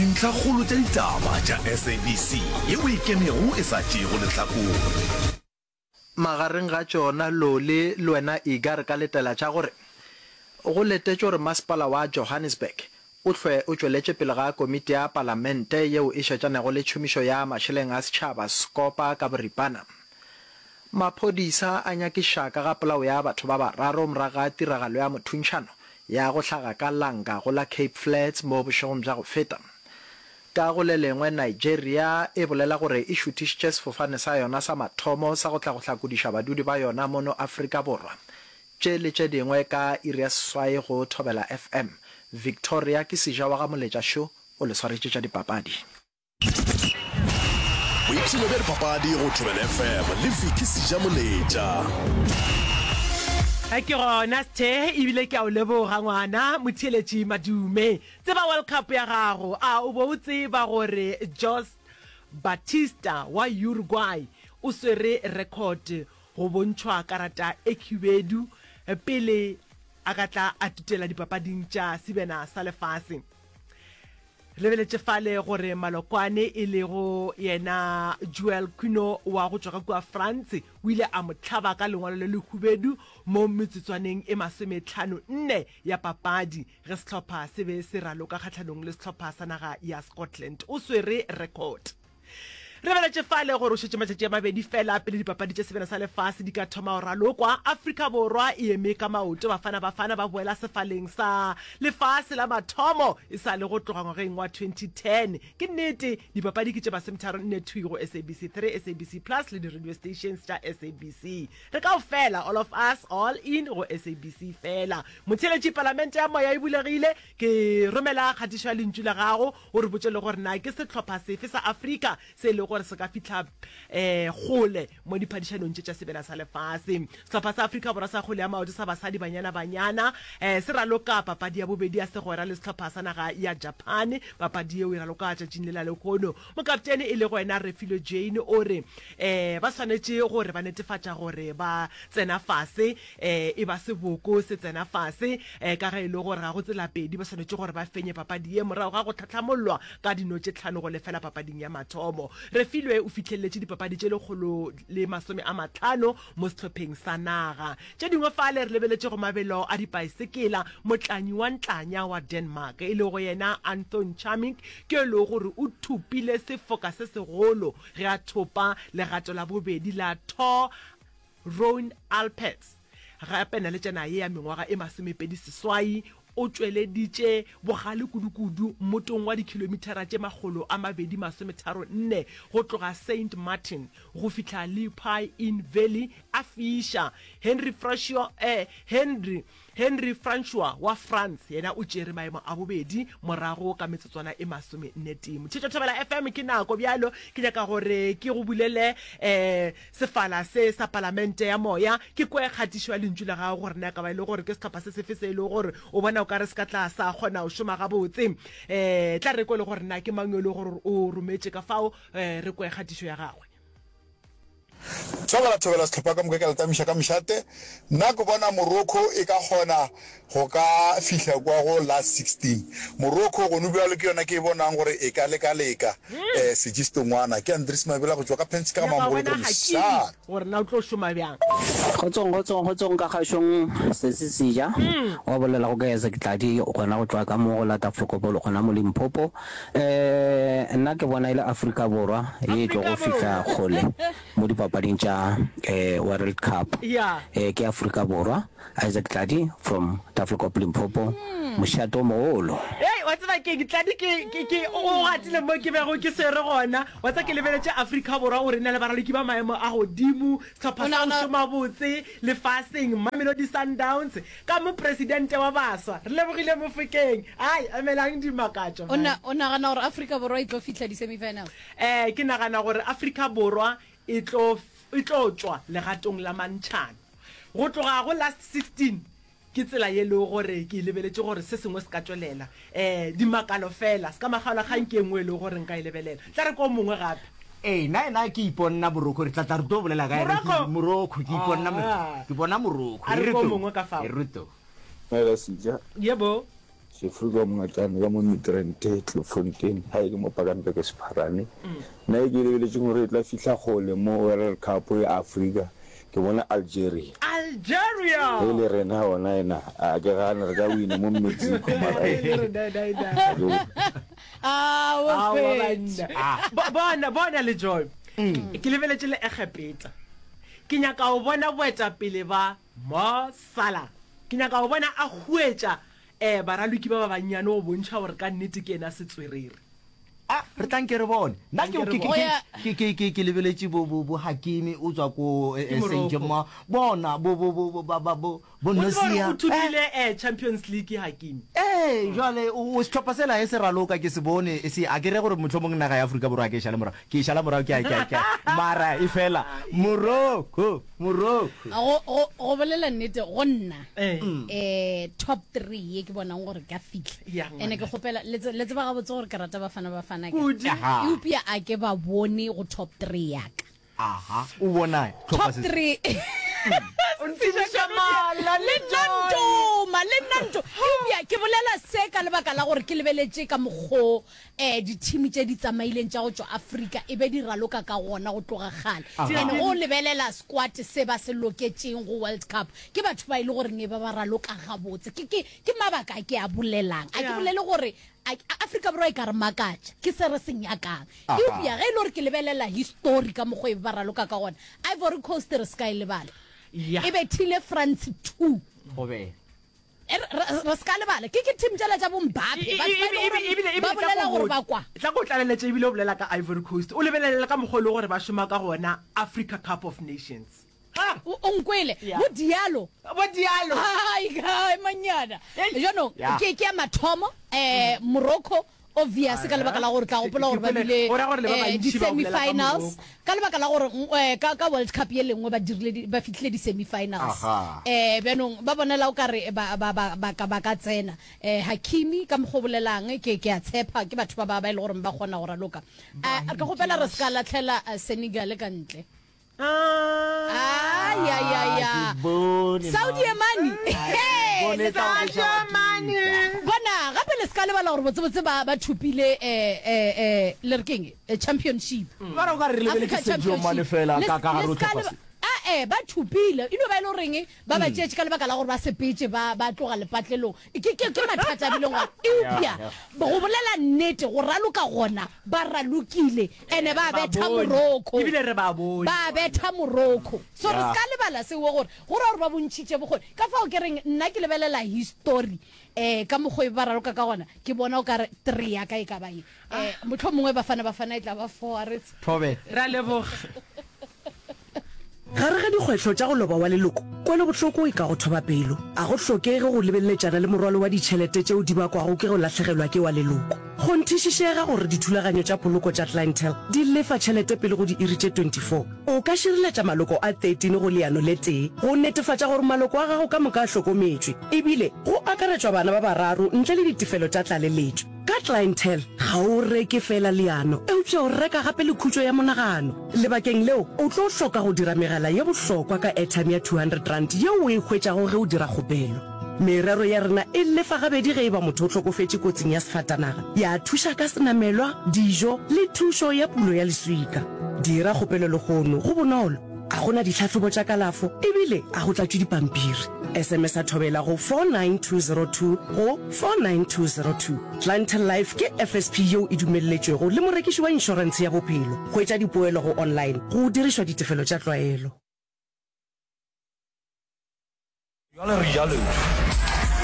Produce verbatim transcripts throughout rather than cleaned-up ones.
Dintlhakgolo tša ditaba tša S A B C yeo e ikemego e sa tšeego lehlakore. Magareng ga tšona, Loli le wena Iga re ka letela tša gore go letetšwe gore masepala wa Johannesburg o hlwe o tšweletše pele ga komiti ya palamente yeo e šetšanego le tšhomišo ya mašeleng a setšhaba, Scopa ka boripana. Maphodisa a nyakiša ka ga polao ya batho ba bararo morago ga tiragalo ya mothuntšhano ya go hlaga ka Langa go la Cape Flats mo bošegong bja go feta. Ka go le lengwe, Nigeria e bolela gore e šuthišitše sefofane sa yona sa mathomo sa go tla go hlakodiša badudi ba yona mono Afrika Borwa. Tše le tše dingwe ka iri ya seswai go Thobela F M. Victoria ke seja wa ga Moletša šo o le swaretše tša dipapadi. Boipshino bja dipapadi go Thobela F M le Vicky Seja Moletša. Ke gona Sthe, ebile ke a o leboga ngwana motheeletši Madume. Tseba World Cup ya gago. A o bo o tseba gore Jose Batista wa Uruguay o swere record go bontšhwa karata e khubedu pele a ka tla a tutela dipapading tša sebjana sa lefase? Re lebeletše fale gore malokwane e lego yena Joel Quino wa go tšwa ka kua France o ile a mo hlaba ka lengwalo le lehubedu mo metsotswaneng e masometlhano nne ya papadi ge sehlopha se be se raloka kgahlanong le sehlopha sa naga ya Scotland. O swere record. Re lebeletše fale gore o šetše matšatši a mabedi fela pele dipapadi tša sebjana sa lefase di ka thoma go ralokwa. Afrika Borwa e eme ka maoto, Bafana Bafana ba boela sefaleng sa lefase la mathomo e sa le go tloga ngwageng wa twenty ten. Ke nnete, dipapadi ke tše masometharo nne thwi go S A B C three, S A B C Plus le di-radio stations tša S A B C. Re kaofela, all of us, all in go S A B C fela. Motheeletši, Palamente ya Moya e bulegile, ke romela kgatišo ya lentšu la gago o re botše le gore na ke sehlopha sefe sa Afrika se e lego gore se ka fihla um kgole mo diphadišanong tše tša sebjana sa lefase. Sehlopha sa Afrika Borwa sa kgwele ya maoto sa basadi Banyana Banyana um se raloka papadi ya bobedi ya segwera le sehlopha sa naga ya Japan. Papadi yeo e raloka tšatšing le la lehono. Mokaptene e lego yena Refilwe Jane o re um ba swanetše gore ba netefatša gore ba tsena fase um e ba seboko se tsena fase um ka ge e le gore ga go tsela pedi, ba swanetše gore ba fenye papadi ye morago ga go tlhatlhamollwa ka dino tše tlhano go lefela papading ya mathomo. Refilwe o fihleletše dipapadi tše lekgolo le masome a mahlano mo sehlopheng sa naga. Tše dingwe fale re lebeletše go mabelo a dipaesekela, motlanyi wa ntlanya wa Denmark e lego yena Anthon Charmig ke e lego gore o thopile sefoka se segolo ge a thopa legato la bobedi la Tour Rhone Alpes. Gape naletšana ye ya mengwaga e masomepedi seswai o tšweleditše bogale kudukudu mmotong wa dikhilomithara tše makgolo a mabedi masometharo nne go tloga Saint Martin go fihla Lepi Inn Valley a fiša. Henry Francois, eh, Henry, Henry Francois wa France yena o tšere maemo a bobedi morago ka metsotswana e masome nne tee. Motšhetšo Thobela F M, ke nako bjalo ke nyaka gore ke go bulele eh, sefala se sa Palamente ya Moya, ke kwe kgatišo ya lentšu la gago gore na ka ba e le gore ke sehlopha se sefe se e lego gore o bona o ka re se ka tla sa kgona go šoma gabotse. um tla re kwe le gore na ke mang yo e lego gore o rometše ka fao, um re kwe kgatišo ya gagwe. Thobela thobela sehlopha ka moka ke a le tamiša ka mošate. Nna ke bona Morocco e ka kgona go ka fihla kwa go last sixteen. Morocco gone bjalo ke yona ke e bonang gore e ka leka-leka eh sejistongwana. Ke Andries Mabela go tšwa ka Penske ga Nyaka go Mamogolo ke bona re Hakimi mošate. gore na o tlo šoma bjang. Kgotsong kgotsong kgotsong ka kgašong sesi Seja wa bolela go ka Isaac Tladi gona go tšwa ka mo go la Tafelkopolo gona mo Limpopo. Eh nna ke bona e le Afrika Borwa ye e tlo Afrika go fihla Borwa. kgole mo dipapading tša eh World Cup. Ya. Eh ke Afrika Borwa. Isaac Tladi from Tafelkop Limpopo. Mošate o mogolo. Hei, wa tseba keng, Tladi, ke, ke, ke, o gatile mo ke bego ke swere gona. Wa tseba, ke lebeletše Afrika Borwa gore e na le baraloki ba maemo a godimo, sehlopha O sa go nagana šoma botse lefaseng, Mamelodi Sundowns, ka mopresidente wa baswa. Re lebogile Mofokeng. Ai, emelang dimakatšo, o na man. o nagana gore Afrika Borwa e tlo fihla di-semi-final? Eh, ke nagana gore Afrika Borwa e tlo, e tlo tšwa legatong la mantšhano. Go tloga go last sixteen, ke tsela ye lego gore ke e lebeletše gore se sengwe se ka tšwelela. Eh, dimakalo fela, se ka makgaolakgang ke e nngwe e lego gore nka e lebelela. Tla re ko mongwe gape. Ee, nna ena ke iponna Morocco, re tla tla re tlo bolela ka yena, ke Morocco? Morocco, ke iponna Mo- Ah. ke bona Morocco. A E re re ko to, mongwe ka fao. e re to. Dumela Seja. Yebo. Sefrika Mongatane ka mo Midrand, Klipfontein, gae ke mo Pakampe Sepharane. Nna e ke e lebeletšeng gore e tla fihla kgole mo World Cup ya Afrika, ke bona Algeria. Algeria! Ge e le rena gona ena, a ke gane re ka wina mo Mexico mara Ge e le rena ena ena. ga ke Ah, o Aowa fetše. banna. Bo- Bona, bona le Joy. Ke lebeletše le Egepeta. Ke nyaka go bona boetapele ba Mo Salah. Ke nyaka go bona a huetša um baraloki ba ba bannyane go bontšha gore ka nnete ke yena setswerere. A re tla nke re bone. Nna ke, Tla nke ke, re ke, bone. ke, ke, ke, ke lebeletše bo, bo, bo Hakimi o tswa ko, eh, Ke eh, Morocco. Saint-Germain. Bona, bo, bo, bo, bo, ba, ba, bo, bo O tseba gore Nosia. o thopile eh, Champions League Hakimi. Ee, jwale o, o sehlopha sela e se raloka ke se bone se a ke re gore mohlomong naga ya Afrika Borwa ke e šale morago. Ke e šala morago ke a, ke a, ke a, mara e fela Morocco, Morocco. Go, go, go bolela nnete go nna Eh. eh top three ye ke bonang gore ka fitlha Ya, ene ke kgopela le tse- le tseba gabotse gore ke rata Bafana Bafana ka Kudu. Aha. eupša a ke ba bone go top three ya ka Aha, o bona top hlopha se. three O ntsebiša mala le le nna ntoma le nna nto eupša ke bolela se ka lebaka la gore ke lebeletše ka mokgo um di-team tše di tsamaileng tša go tšwa Afrika e be di raloka ka gona go tloga kgale. And go lebelela squad se ba se loketšeng go World Cup ke batho ba e le goreng e ba ba raloka gabotse. Ke, ke, ke mabaka a ke a bolelang. A ke Yeah. bolele gore a, a- Afrika Borwa e ka re makatša, ke se re se nyakang. Eupša ge e le gore ke lebelela history ka mokgo e be ba raloka ka gona, Ivory Coast re se ka e lebala. Yeah. E bethile France two. Go be. E re re- re se ka lebala ke ke team tšela tša bo Mbappe E- e- batho ba e le ebile- ebile- gore ebile ba tla bolela ko gore go- ba kwa tla ko tlaleletše ebile o bolela ka Ivory Coast o lebelele ka mokgwa o le gore ba šoma ka gona Africa Cup of Nations. Ha! o o nkwele Yeah. bo Diallo Bo Diallo. ai kai manyana jaanong Yeah. ke ke ya mathomo um Morocco obvious ka lebaka la gore tla gopola gore ba Ke- ke- bile go ra gore le ba eh, bantši ba bolela ka di-semi-finals Morocco. ka lebaka la gore mm, eh, ka ka World Cup ye lengwe ba dirile di- ba fihlile di-semi-finals Aha. eh bjanong ba bonela o kare ba ba ba ba ka ba ka tsena eh Hakimi ka mokgwa o bolelang ke ke a tshepa ke batho ba ba ba e le gore ba kgona go raloka Eh, re ka kgopela re se ka latlhela eh, Senegal ka ntle Ah. Ai, ai, ai, ai. Ke bone, Saudi Mane Hey, Bone le tla sa- go Mane. bona gape le se ka lebala gore botsebotse ba ba thopile eh, eh, eh, le re keng eh, championship Mara o ka re re lebeletse Africa Sadio Mane Championship. fela Le ka ka le gare ho se ka hlopha leba- se. Ah, eh ba thopile e no ba e le goreng ba ba tšeetše ka lebaka la gore ba sepetse ba ba tloga lepatlelong ke ke ke mathata a bileng gore eupša go bolela nnete go raloka gona ba ralokile ene ba Ba betha bone. Morocco Ebile re ba bone. ba betha Morocco so re se ka lebala seo gore go ra gore ba bontšhitše bokgoni ka fao ke reng nna ke lebelela history um ka mokgwa e ba raloka ka gona ke bona o kare three ya ka e ka ba ye um motlho mongwe Bafana Bafana e tla ba four a re tse Thobe. Ra leboga. Gare ga dikgwetlho tša go loba wa leloko, kwelobohloko e ka go thoba pelo. A go hlokege go lebeleletšana le morwalo wa ditšhelete tšeo di bakwago ke go lahlegelwa ke wa leloko. Kgonthišišega gore dithulaganyo tša poloko tša Clientele di lefa tšhelete pele go diiri tše twenty-four. O ka šireletša maloko a thirteen go leano le tee go netefatša gore maloko a gago ka moka a hlokometšwe, ebile go akaretšwa bana ba bararo ntle le ditefelo tša tlaleletšo. Ka Clientele, ga o reke feela leano, eupša o reka gape le khutšo ya monagano. Lebakeng leo, o tlo hloka go dira megala ye bohlokwa ka airtime ya two hundred rand yeo o e hwetšago ge o dira kgopelo. Merero ya rena e lefa gabedi ge e ba motho o hlokofetše kotsing ya sefatanaga, ya thuša ka senamelwa, dijo le thušo ya pulo ya leswika. Dira kgopelo lehono, go bonolo, a go na ditlhahlobo tša kalafo ebile a go tlatšwe dipampiri. S M S a thobela go four nine two zero two go four nine two zero two. Clientele Life ke F S P yeo e dumelletšwego le morekiši wa inšorentshe ya bophelo. Hwetša dipoelo go online go dirišwa ditefelo tša tlwaelo. Bjale re ja lotso.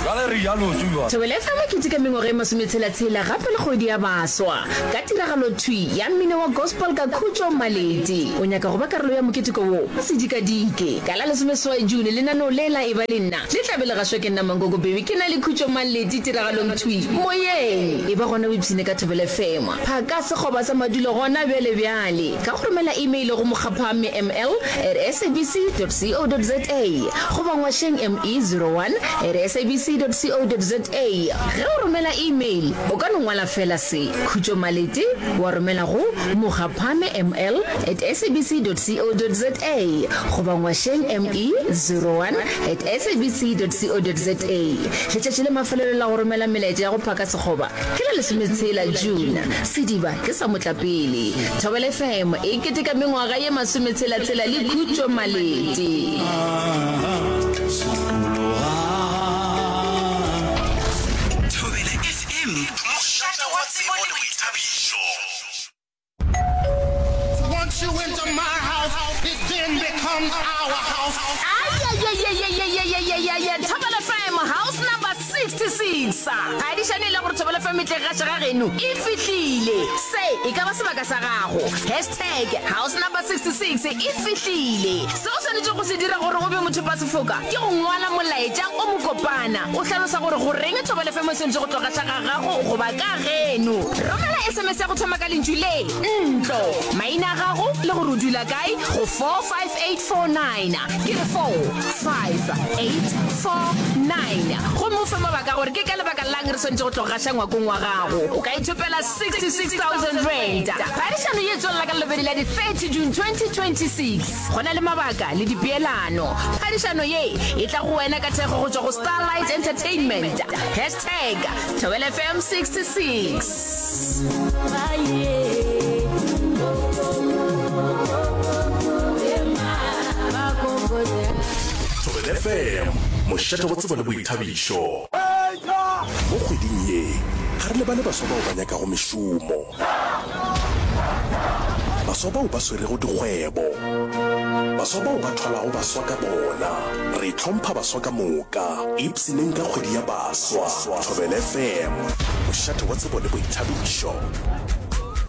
Bjale re ja lotso bjale. Thobela F M e keteka mengwaga e masometshela-tshela gape le kgwedi ya baswa ka tiragalo thwi ya mmino wa gospel ka Khutšo Maleti. O nyaka go ba karolo ya moketeko wo? Se dikadike. Ka la lesomeseswai June lenaneo le la Eba le Nna le tla be le gašwa ke nna Mankoko Baby ke na le Khutšo Maleti tiragalong thwi moyeng. Eba gona o ipshine ka Thobela F M. Phaka sekgoba sa madulo gona bjale bjale ka go romela email go mokgaphame M L at S A B C dot C O dot Z A goba ngwašeng M E zero one at S A B C sabc dot co dot za. Ge o romela email, o ka no ngwala feela se, Khutšo Malete, wa romela go Mogaphame ml at sabc dot co dot za goba Ngwašeng me zero one at sabc dot co dot za. Letšatši la mafelelo la go romela melaetša ya go phaka sekgoba ke la lesometshela June. Sediba ke sa motlapele. Thobela F M e keteka mengwaga ye masometshela-tshela le Khutšo Malete. Thobela F M, mošate wa tsebo le boithabišo. Once you enter my house, it then becomes our house. Ayayayayayayayayaya Thobela F M house number sixty-six. Phadišano e le gore Thobela F M e tle gaša ga geno e fihlile. Se e ka ba sebaka sa gago. Hashtag house number sixty-six e fihlile. Se o swanetše go se dira gore o be mothopasefoka ke go ngwala molaetša o mokopana o hlalosa gore goreng Thobela F M e swanetše go tlo gaša ga gago goba ka geno. Romela S M S ya go thoma ka lentšu le ntlo, maina a gago le gore o dula kae go four five eight four nine. Ke re four five eight four nine. Gomme o fe mabaka gore ke ka lebaka lang re swanetše go tlo gaša ngwakong wa gago. O ka ithopela sixty-six thousand rand. Phadišano ye e tswelela ka Lelobedi la di thirty June twenty twenty-six. Go na le mabaka le dipeelano. Phadišano ye e tla go wena ka thekgo go tšwa go Starlight Entertainment. Hashtag Thobela F M sixty-six. Thobela F M, mošate wa tsebo le boithabišo. Mo kgweding ye, ga re lebale baswa bao ba nyakago mešomo, baswa bao ba swerego dikgwebo, baswa bao ba thwalago baswa ka bona. Re hlompha baswa ka moka. Ipshineng ka kgwedi ya baswa. Thobela F M, mošate wa tsebo le boithabišo.